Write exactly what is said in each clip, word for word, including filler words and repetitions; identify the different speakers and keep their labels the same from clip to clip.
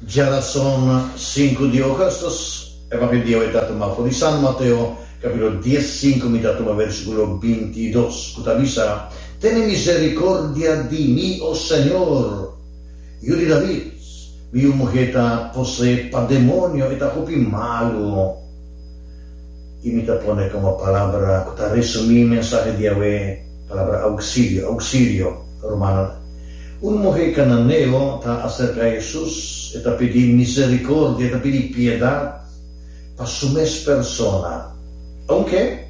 Speaker 1: Djarason sinku di ougùstùs, Evangelio ta tumá for di San Mateo, kapítulo diesinku, mi ta tuma versíkulo bintidos, ku ta bisa: "Tene miserikòrdia di mi, o Señor, yu di David, mi yu muhé ta poseé pa demoño, e ta hopi malu." I mi ta pone komo palabra ku ta resumí mensahe di awe, palabra ousilio, ousilio, ruman. Un muhé kananeo ta aserká Hesus, e ta pidi miserikòrdia, e ta pidi piedat pa su mes persona. Aunke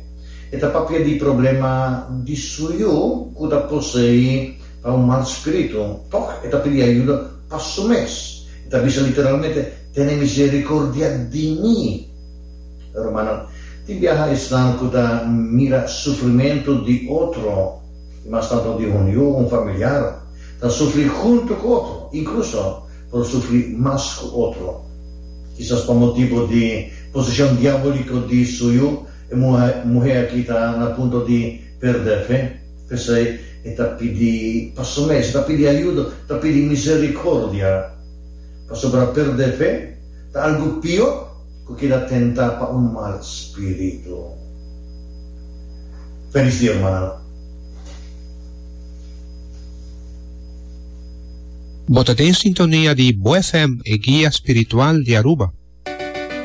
Speaker 1: e ta papia di problema di su yu, ku ta poseí pa un mal spiritu, tòg e ta pidi ayudo pa su mes. E ta bisa literalmente: "Tene miserikòrdia di mi." Ruman, tin biaha esnan ku ta mira sufrimentu di otro, mas tantu di un yu, un familiar, ta sufri huntu ku otro, inkluso por sufri mas ku otro. Kisas pa motibu di poseshon diabóliko di su yu, e muhé aki ta na punto di pèrdè fe, p'esei e ta pidi pa su mes, ta pidi ayudo, ta pidi miserikòrdia. Pasobra pèrdè fe ta algu pió ku keda tentá pa un mal spiritu. Felis dia, ruman.
Speaker 2: Bo ta den sintonia di Bo F M, e guia spiritual di Aruba.